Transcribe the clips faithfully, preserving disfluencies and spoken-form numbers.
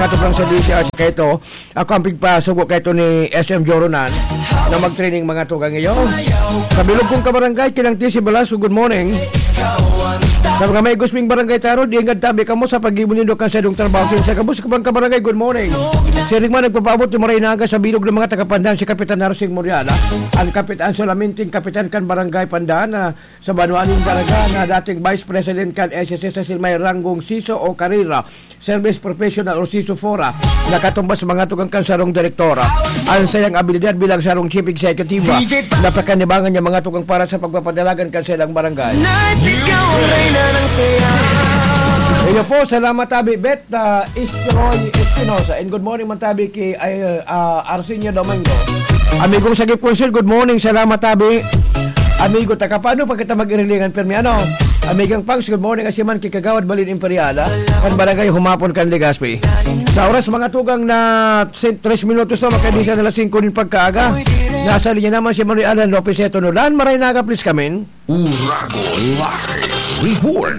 Ato lang sa D C R C kaito. Ako ang pigpasugo kaito ni S M Joronan na mag-training mga tugang iyo. Sa bilog kong kabarangay, kinang T C Velasco, good morning. Sa mga may gusping barangay taro, di ngad tabi kamo sa paggibo nindo kan sadong trabaho. Sa gabos ko pang kabarangay, good morning. Si Rigman nagpapaabot ni Maray Naga sa bilog ng mga tagapandan, si Kapitan Narsing Moriala, ang kapitan, solaminting kapitan kan barangay Pandan, na sa banwa nin Daraga, na dating vice president kan S S S sa may ranggong siso o karera, service professional o siso fora, nakatumbas mga tugang kan sarong direktora. Ang sayang abilidad bilang sarong chief executive, napakanibangan niya mga tugang para sa pagpapadalagan kan silang barangay. Iyo po, salamat tabi, Bet, ah, Istroy Espinosa. And good morning man tabi ki, ay, ah, Arsenio Domingo. Amigong Sagip Consul, good morning, salamat tabi. Amigo, taka paano pa kita mag-irilingan, permi, ano? Amigang Pangs, good morning, Asiman, ki Kagawad Balin Imperial, ah, kan Barangay Humapon, kan Legazpi. Sa oras, mga tugang na sin-, tres minutos na, makadisa na alas singko nin pagkaaga. Nasa linya naman si Manuel Alan Lopez Eto Nolan. Maray naga, please, kamin. Uragon Live Report.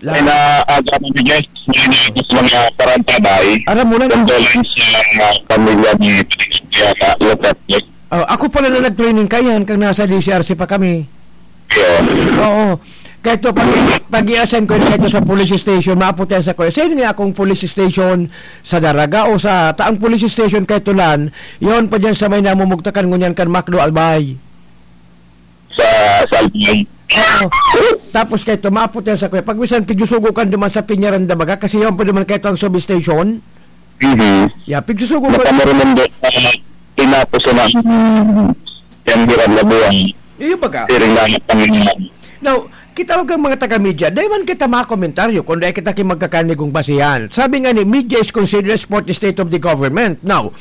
May na aga kami, guys. May na ako sa mga parantabay. Aram mo na, Condolence sa mga pamilya ni Patricia Lopez. Oh, ako pala na nag-training kayan, kang nasa D C R C pa kami. Yun. Oo. Kaya ito, pag, pag i-assign ko yun, kaya ito sa police station, maapot yan sa kuya. Sa'yo nga akong police station sa Daraga o sa taang police station kay Tulan, yun pa dyan sa may namumugtakan ngunyan kan Macdo Albay. Sa, sa Albay. Oo. Tapos kay ito, maapot yan sa kuya. Pag minsan, pigsusugo ka naman sa Piñaranda baga, kasi yun pa naman kay ito ang substation. Mhm. Yeah, pigsusugo ka. Nakamurunong doon sa tinapos na ng yan, hirap na buhay. Iyo baga. Siring na ang Panginoon. Now, kita ko kang mga taga-media, dahil man kita mga komentaryo, kung dahil kita ki magkakanigong basihan. Sabi nga ni, media is considered as fourth state of the government. Now,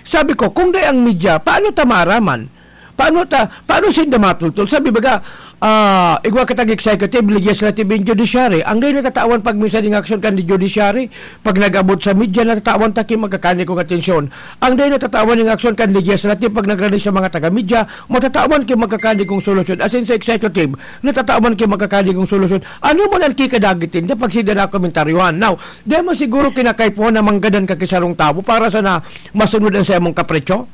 sabi ko, kung dahil ang media, paano ta maaraman? Paano ta, paano sinda matultol? Sabi baga, ah, igwa kitang executive, legislative, and judiciary. Ang dahil natatawan pag minsan yung aksyon kan judiciary, pag nag-abot sa media, natatawan ta ki magkakanigong atensyon. Ang dahil natatawan yung aksyon kan legislative, pag nag-release sa mga taga-media, matatawan ki magkakanigong solusyon. As in, sa executive, natatawan ki magkakanigong solusyon. Ano man ang kikadagit ninda pag sinda na komentaryuhan? Now, di man siguro kinakaipuhan na manggadan ka ki sarong tawo para sana masunod ang saimong kapretsyo?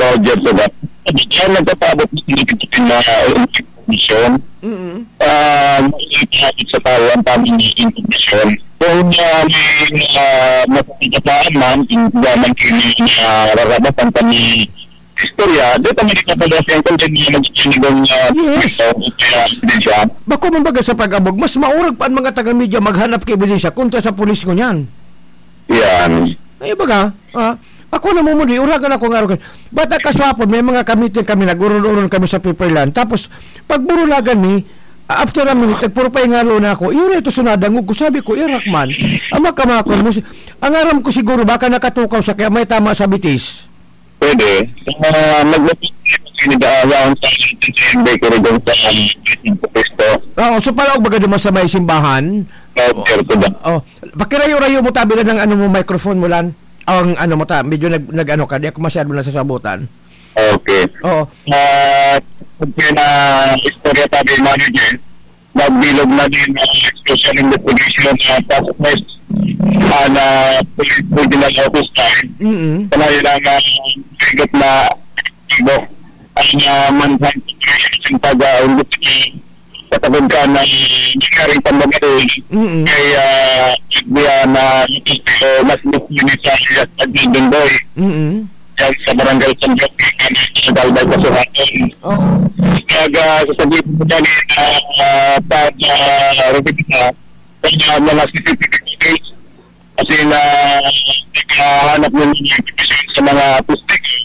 Soldier to that. Yan nagpapabot ng significant na information. Mm-mm. Ah, mas ipinapit sa tao ang tamang information. Kung, ah, may, ah, mapapagkataan man, kung gaman kayo na nararapat ang kami istorya, di pa may kapag-asya kung may mga nagsisinigong, ah, Yes. ito, kaya, di siya. Bako man baga sa pag-abog, mas maurag pa ang mga taga-media maghanap kay ebidensya kontra sa pulis ngunyan. Yan. Ay, baga, ah, ako na mo muli, uragan ako nga, uragan. Bata kaswapon, may mga kamiting kami, nag-uron-uron kami sa Pepperland. Tapos, pag burulagan mi, ah, after a minute, nagpuro pa ingalo na ako. Iyo na ito sunadangog ko. Sabi ko, "Irak man, ang makamakon mo, si-, ang aram ko siguro, baka nakatukaw sa kaya may tama sa bitis." Pwede. Ah, magbabalik kasi ni Daawan sa Bakery doon sa Cristo. Oo, so palaog baga naman sa may simbahan? Oo, sir, ko ba? Oh, pakirayo-rayo mo tabi na ng ano mo, microphone mo, Lan. Ang ano mo ta, medyo nag, nag-ano ka, di ako masyado nasasabutan. Okay. Oo. Ah, okay na istorya tabi, manager. Nagbilog na din ang special investigation na task force, ah, na police regional office time. Mm-mm. Sa ngayon ang, ah, bigat na aktibo ang, ah, manhunt operation sa pag, ah, investigate sa pagod ka na nangyaring pambabaril Mm-mm. kay, ah, F B I na nagtuturo mas gusto ni sa alias Admin Boy. Mm-mm. Yan sa Barangay San Roque, sa Galbay, Masuraton. Oo. Kaya, ah, sasabihin ko dyan, eh, na, ah, pag, ah, review na, sa mga C C T V footage, kasi na, naghahanap ng mga information sa mga suspect, eh.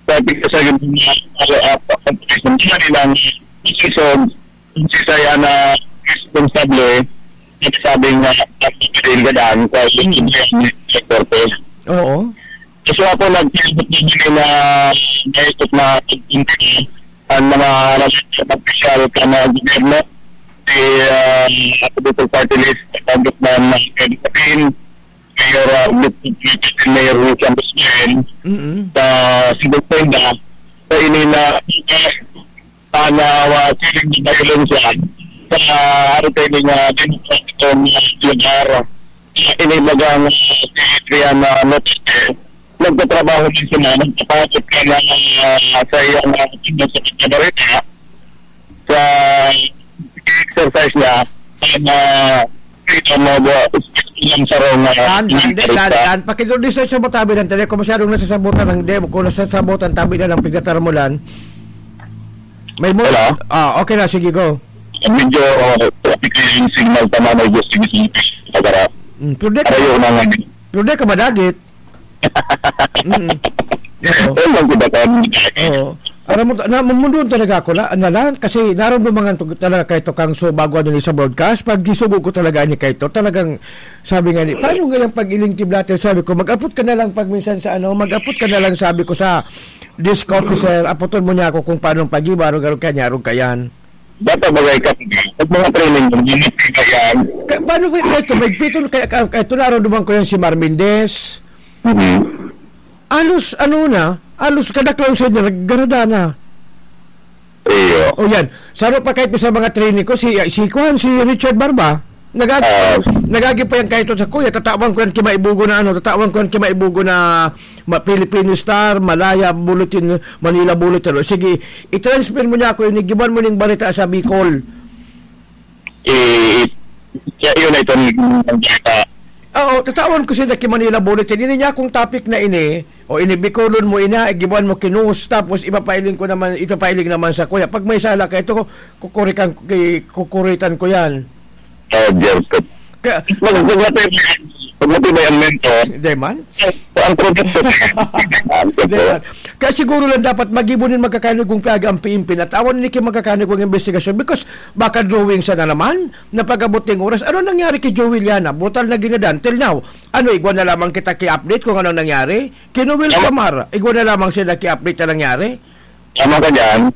Sabi ko sa mga follow-up, ang police ng China nilang isisog, kung si Sayana responsable, sinasabing na nagpapadail ka daan sa yung korte. Oo. Kasi ako, nagpapit din nila na may ikot na pagpunta ang mga relevant na opisyal sa mga gobyerno, si, um, Apo Duterte Party List, Congressman Freddy Sabin, Mayor, uh, Mayor Wilson Busquin, Mm-mm. sa Cebu Penda, sa ini na, uh, na, uh, feeling ng violence yan sa, uh, ano tayo nga, demokratikong, uh, lugar. Inibagang si Triana Lotete, nagtatrabaho din sila, nagpapasok ka na, ah, sa iyang, ah, sa pagkabarita, sa exercise niya, sa freedom of, ah, speech ng sarong, ah, Tan, tan, di, tan, tan. Pakidul-, di sa, sa mo tabi ng tele, kung masyadong nasasabutan ng, di, kung nasasabutan, tabi na lang, pigdatar mo lang. May mo-, Hello? Ah, okay na, sige, go. Medyo, ah, traffic yung signal, tama na yung gusto niyo sa pagkara. Mm, pero di ka, Arayo na nga. Pero di ka madagit. Mm. Oo. Ayun lang, diba, kan-, Oo. Aram mo, na, mamundon talaga ako, la, na lang, kasi naramdaman ko talaga kay Tokang, so, bago ano ni sa broadcast, pag gisugo ko talaga ni kay To, talagang sabi nga ni, "Paano nga yung pag-iling kiblater?" Sabi ko, "Mag-apot ka na lang pag minsan sa ano, mag-apot ka na lang," sabi ko, "sa desk officer, apoton mo niya ako kung paano pag-iba, arog-arog ka niya, arog ka yan." Dapat bagay ka, pag mga training mo, limit ka yan. Ka-, paano ba, kay To, may piton, kay, kay, kay To, naramdaman ko yan si Mar Mendez. Mhm. Alos, ano na, alos kada close na, naggarada na. Iyo. O yan, saro pa kahit sa mga training ko, si, si Kwan, si Richard Barba, nagag-, Ah. nagagi pa yan kahit sa kuya, tatawan ko yan kimaibugo na ano, tatawan ko yan kimaibugo na ma-, Filipino Star, Malaya Bulletin, Manila Bulletin. O, sige, i-transfer mo niya ako, inigiban mo ning barita sa Bicol. Eh, siya yun ay itong barita. Oo, tatawan ko sila ki Manila Bulletin. Ini niya akong topic na ini, o ini Bicolon mo ina, igiban mo ki Nus, tapos ipapailing ko naman, ipapailing naman sa kuya. Pag may sala ka, ito, kukurikan, ki-, kukuritan ko yan. Ah, Jericho. Kaya Pag, pag matibay, pag matibay ang mentor, Hindi man. ang produkto. Hindi man. Kaya siguro lang dapat magibo nin magkakanig kung piyaga ang piimpin at awan ni ki magkakanig kung investigasyon because baka drawing siya na naman na pag-abot ng oras. Ano nangyari kay Joey Liana? Brutal na ginadan. Till now, ano, igwa na lamang kita ki-update kung anong nangyari? Kay Noel Samar, igwa na lamang sila ki-update na nangyari? Tama ka dyan.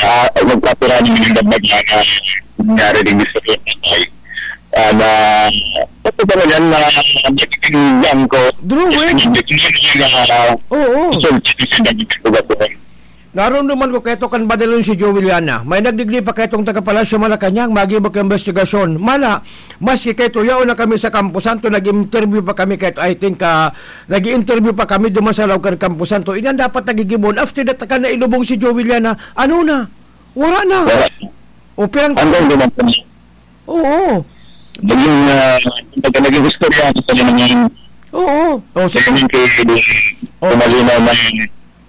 Ah, nagkapira ng mga bagay na nangyari din sa Pilipinas. Ah, na, ito ba yan na nagtitindihan ko? Drawing? Hindi ko na Oo. Resulta ko sa nagtitindihan ko. Naramdaman ko kaito kan badalon si Joey Liana. May nagdigdi pa kaitong taga Palasyo Malacañang, magibo ka investigasyon. Mala, maski kaito, yaon na kami sa Campo Santo, nag-interview pa kami kaito, I think, ah, nag-i-interview pa kami duman sa laog kan Campo Santo. Iyan dapat nagigibon. After that, kan nailubong si Joey Liana, ano na? Wala na. Wala. O, pirang Hanggang duman kami. Oo. Naging, ah, kumbaga, naging istorya sa kanya ng Oo. O, sige. Training kay Oh. Kumalinaw na,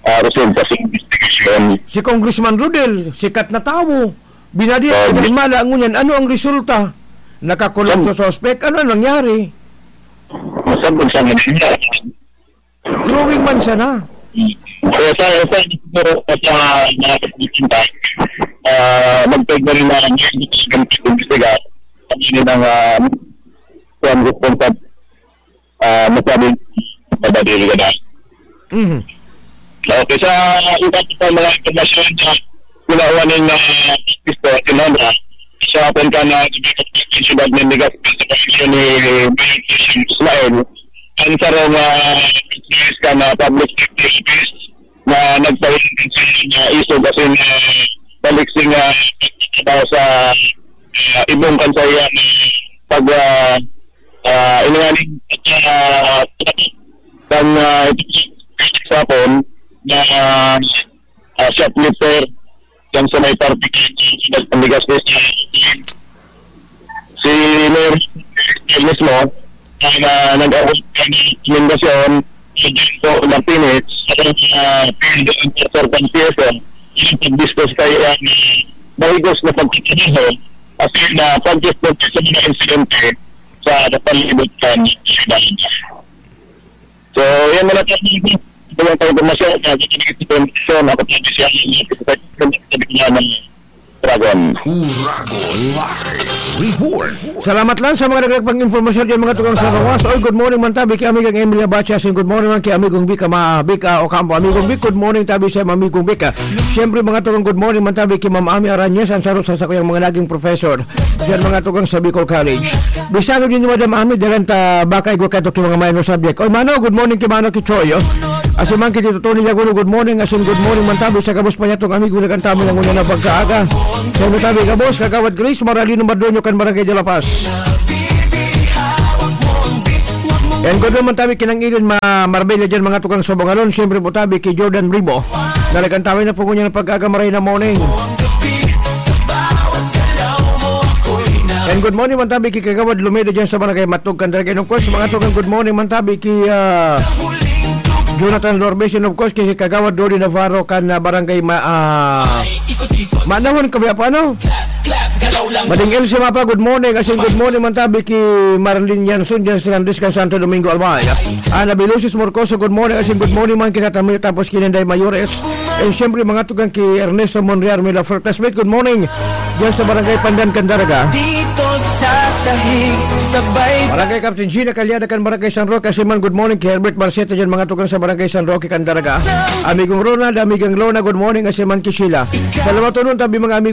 ah, resulta sa investigation. Si Congressman Rodel, sikat na tawo. Binadiya Oh, ka ng mala, ngunyan, ano ang resulta? Nakakulong Sab- sa suspect? Ano ang nangyari? Masabog sa kanila. Drawing man sana. Kaya sa, sa, siguro, sa mga pagkikita, ah, magpeg na rin na ang investiga. Ang yun ang, ah, kuwan, responsible, ah, masabi, madadili ka na. Mhm. Okay, sa iba pa mga impormasyon na ginawa ng, ah, Mister Sinonra, sa punta na sa siyudad ng Legazpi sa pamilya ni Mayor Jason Ismail, ang sarong, ah, ka na public safety office na nagpahintay sa na isog asin, ah, balik sa, ah, pagkakita sa, ah, ibong kansaya na pag, ah, ah, ilinganing, ah, kan, ah, ito sa Hapon na, ah, shoplifter diyan sa may parte ng Siyudad ng Legazpi. Si Mayor mismo, ang, ah, nag-abot ng rekomendasyon kay Jericho Martinez, sa, ah, field enforcer ng P S M, yung pag-discuss kayo ang, ah, mahigos na pagkakaroon at yung, ah, pag-discuss sa mga insidente sa palibot ng siyudad. So, yan muna po. Ito lang tayo pumasya sa ating information. Ako po si Alan Lopez, sa ng Dragon. Uragon Live Report. Salamat lang sa mga nagdagdag pang impormasyon diyan, mga tugang sa Rojas. Oy, good morning man tabi kay Amigang Emilia Bacha. Sin good morning man kay Amigong Bika, ma-, Bika Ocampo. Amigong Bika, good morning tabi sa Amigong Bika. Siyempre, mga tugang, good morning man tabi kay Ma'am Ami Arañez, ang saro sa sakuyang mga naging professor diyan, mga tugang, sa Bicol College. Bisado din ni Madam Ami, dalan ta baka igwa kato ki mga minor subject. Oy, Mano, good morning kay Mano Kichoy, oh. Asin man kay Tito Tony Laguno, good morning. Asin good morning man tabi sa gabos pa niya tong amigo na kanta mo ng una na pagkaaga. Sa tabi gabos, Kagawad Grace Maralino Mardonio kan Barangay de la Paz. And good morning man tabi kinang Eden ma Marbella dyan, mga tukang sa Bangalon. Siyempre po tabi kay Jordan Ribo. Nalagantawan na po ngunyan ng pag-aga, maray na morning. And good morning man tabi kay Kagawad Lumeda dyan sa Barangay Matog, Candelaga. And of course, mga tukang, good morning man tabi kay ah, Jonathan Lorbes. And of course, kay Kagawad Dodi Navarro kan ah, Barangay Ma ah, Manahon kami apa ano? Mading Elsie Mapa, good morning. Asin good morning man tabi ki Marlene Yanson dyan sa Landis kan Santo Domingo, Albay. Ana Bilusis Morcoso, good morning. Asin good morning man kita Tamil tapos ki Inday Mayores. And siyempre, mga tugang ki Ernesto Monreal, Mila Fortasmith, good morning. Dyan sa Barangay Pandan, Candaraga. Dito sa sahig, sabay Barangay Captain Gina Calyada kan Barangay San Roque, asin man good morning ki Herbert Barceta dyan, mga tugang sa Barangay San Roque, Candaraga. Amigong Ronald, Amigang Lona, good morning, asin man ki Sheila. Salamat tunon tabi, mga amigo.